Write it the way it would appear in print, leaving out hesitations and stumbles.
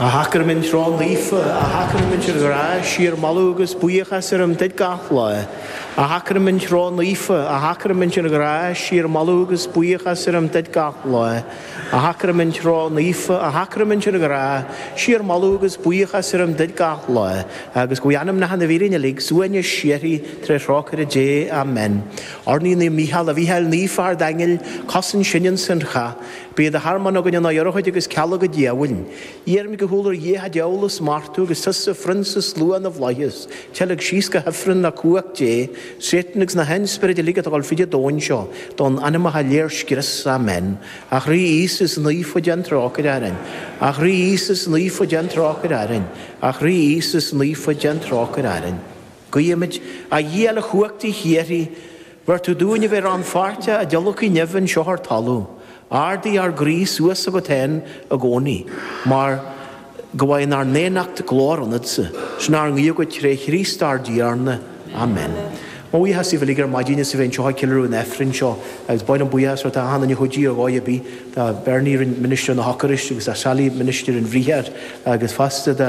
A Shacraimint ró-naofa, a Shacraimint an ghrá, síor-mholadh agus buíochas orainn duit gach lá. A Shacraimint ró-naofa, a Shacraimint an ghrá, síor-mholadh agus buíochas orainn duit gach lá. A Shacraimint ró-naofa, a Shacraimint an ghrá, síor-mholadh agus buíochas orainn duit gach lá, agus go bhfuil anamnacha na bhfíréan uilig suaimhneas síoraí tré thrócaire Dé. Amen. Urnaí Naomh Mícheál, a Mhícheáil Naofa Ard-Aingil, cosain sinn insan chath. Bí i do thearmann againn inár urchóid agus cealg an diabhail. Iarraimid go húdar Dhia an diabhal a smachtú agus tusa, phrionsa slua na bhflaitheas, teilg síos go hifreann le cumhacht Dé, Satan agus na hainspioraid uilig atá ag dul fríd an domhan seo, d'fhonn anamacha léir scrios. Amen. A Chroí Íosa is naofa déan trócaire orainn. A Chroí Íosa is naofa déan trócaire orainn. A Chroí Íosa is naofa déan trócaire orainn. Guímid, a Dhia uilechumhachtaigh shíoraí, bheir tú dúinn a bheith rannpháirteach i dtionlacan neimhe anseo ar talamh. Ardaigh ár gcroí suas chugat féin i gcónaí, mar go bhfaighinn ár ndaonnacht glóir ionatsa. Sin ár nguí chugat tré Chríost ár dTiarna. Amen. Mo bhuíochas daoibh uilig ar maidin as a bheith anseo ag ceiliúradh an Aifrinn seo agus ba mhaith liom buíochas a thabhairt d'achan duine a chuidigh ar dhóigh ar bith, do Bernie a rinne ministir na hEocairiste agus do Sally ministir an Bhriathair agus fosta do.